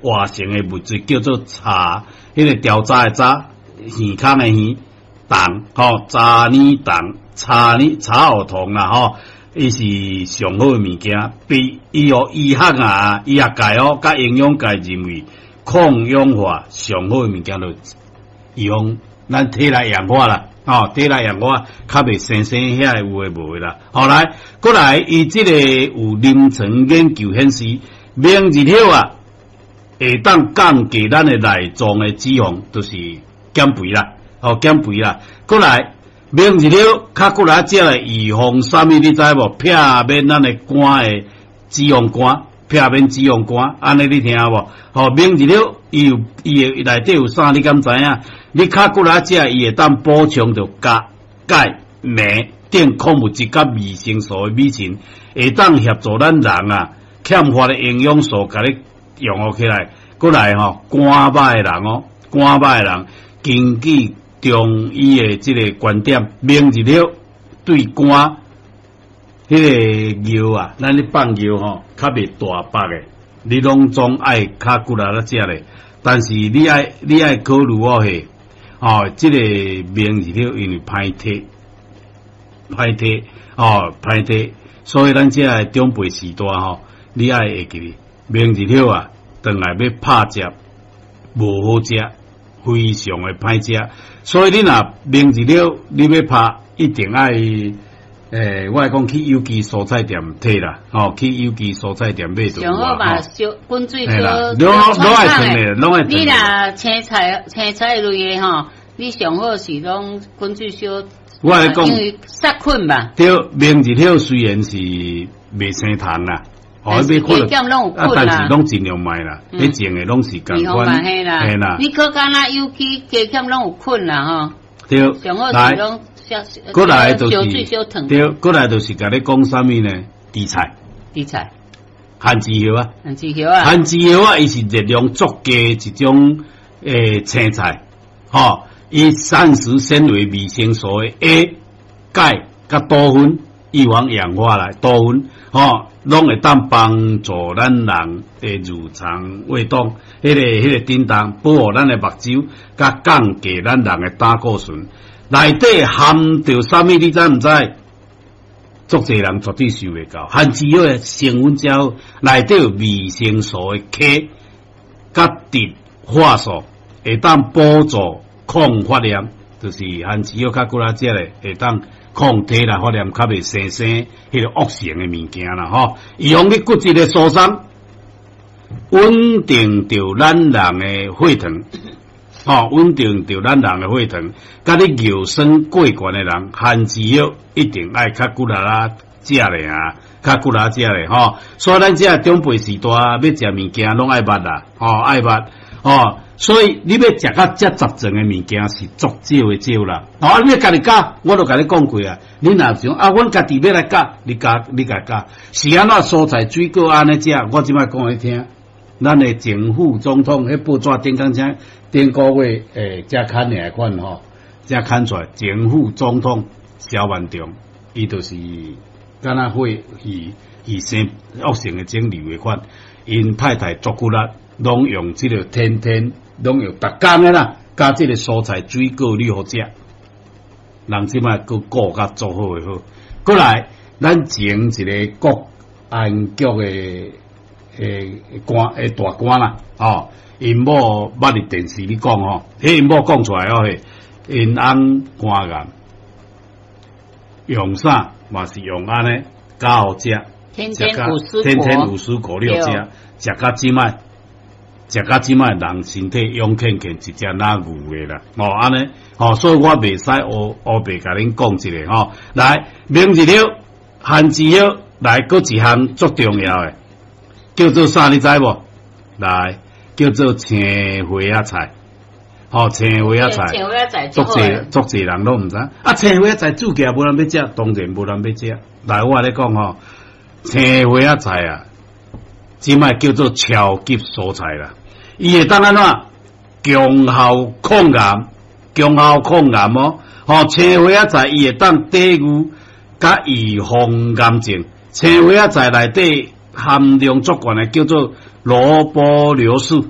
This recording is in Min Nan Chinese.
活性的物質叫做茶，彼個調查的查，耳空的耳，酮吼，查呢酮，查呢查芋酮啦吼，伊是上好的物件，被醫學醫學啊，醫學界哦，佮營養界認為抗氧化上好的物件就用咱體內氧化啦，吼，體內氧化較袂生生遐個有的無的啦。後來過來，伊這個有臨床研究顯示，明日葉啊，會當降低咱的內臟的脂肪，就是減肥啦，哦，減肥啦。過來，明日葉較過來食來預防啥物？你知無？避免咱的肝的脂肪肝，避免脂肪肝，按呢你聽無？吼，明日葉伊有伊的內底有啥？你敢知影？你較過來食，伊會當補充著鉀、鈣、鎂等礦物質佮維生素的米沁，會當協助咱人啊欠乏的營養素，共你融合起來。過來吼，肝歹的人哦，肝歹的人，根據中醫的這個觀點，明日葉對肝彼個尿啊，咱咧放尿吼，較袂大白的，你攏總愛較骨力咧食咧。但是你愛考慮哦，嘿，哦，這個明日葉因為歹體，歹體，哦，歹體，所以咱這个長輩時代吼，你愛會記得明日葉啊，轉來欲拍食無好食，非常的歹食。所以你若明日葉你欲拍，一定愛，我會講去有機蔬菜店提啦，吼，去有機蔬菜店買就有啊。上好嘛，小滾水小，攏愛燉的，攏愛。你若青菜青菜類的吼，你上好是攏滾水燒。我來講，因為殺菌吧。對，明日葉雖然是袂生蟲啦，哦，加減攏有菌啦，但是攏盡量莫啦，你種的攏是仝款，嘿啦。你閣敢若有機加減攏有菌啦，吼。對，上好是攏。過來就是對，過來就是共你講啥物呢？紫菜，紫菜，番薯葉啊，番薯葉啊，番薯葉啊，伊是熱量足低一種青菜，吼，伊膳食纖維、維生素的 A、鈣佮多酚，預防氧化來多酚，吼，攏會當幫助咱人的乳腸胃動，彼個振動，保護咱的目睭，佮降低咱人的膽固醇。內底含著啥物？你知毋知？足濟人絕對想袂到，番薯葉的成分誠好，內底有維生素的 K，佮植化素，會當輔助抗發炎，就是番薯葉較骨力食咧，會當抗體啦發炎，較袂生生彼個惡性的物件啦吼。預防你骨質的疏鬆，穩定著咱人的血糖。吼，穩定著咱人的血糖，佮你尿酸過懸的人，番薯葉一定愛較骨力仔食咧啊，較骨力食咧吼。所以咱這長輩時代欲食物件，攏愛捌啦，吼，愛捌，吼。所以你欲食較這雜種的物件是足少的少啦。吼，你欲家己教，我都共你講過啊。你若想啊，阮家己欲來教，你教你共教，是按怎蔬菜水果按呢食？我這擺講予你聽。咱的前副總統彼報紙頂工請頂個月才刊的款吼，才刊出來。前副總統蕭萬長，伊就是敢若會伊生惡性的腫瘤的款，𪜶太太足骨力，攏用這個天天攏用逐工的啦，佮這個蔬菜水果你予食，人這擺閣顧甲足好的好。過來，咱前一個國安局的官大官啦，吼，𪜶某捌佇電視裡講吼，彼𪜶某講出來哦，嘿，𪜶翁肝癌用啥嘛是用按呢，教予食，天天五蔬天天五蔬果了食，食甲這擺，食甲這擺人身體勇健健，一隻若牛的啦，吼按呢，吼，所以我袂使烏烏白共恁講一个吼，來，明日葉，番薯葉，來，閣一項足重要的。叫做啥？你知無？來，叫做青花仔菜，吼，青花仔菜，足濟足濟人攏毋知。啊，青花仔菜煮起來無人欲食，當然無人欲食。來，我共你講吼，青花仔菜啊，這擺叫做超級蔬菜啦。伊會當按怎？強效抗癌，強效抗癌哦。吼，青花仔菜伊會當抵禦佮預防癌症。青花仔菜內底含量足懸的，叫做蘿蔔流士。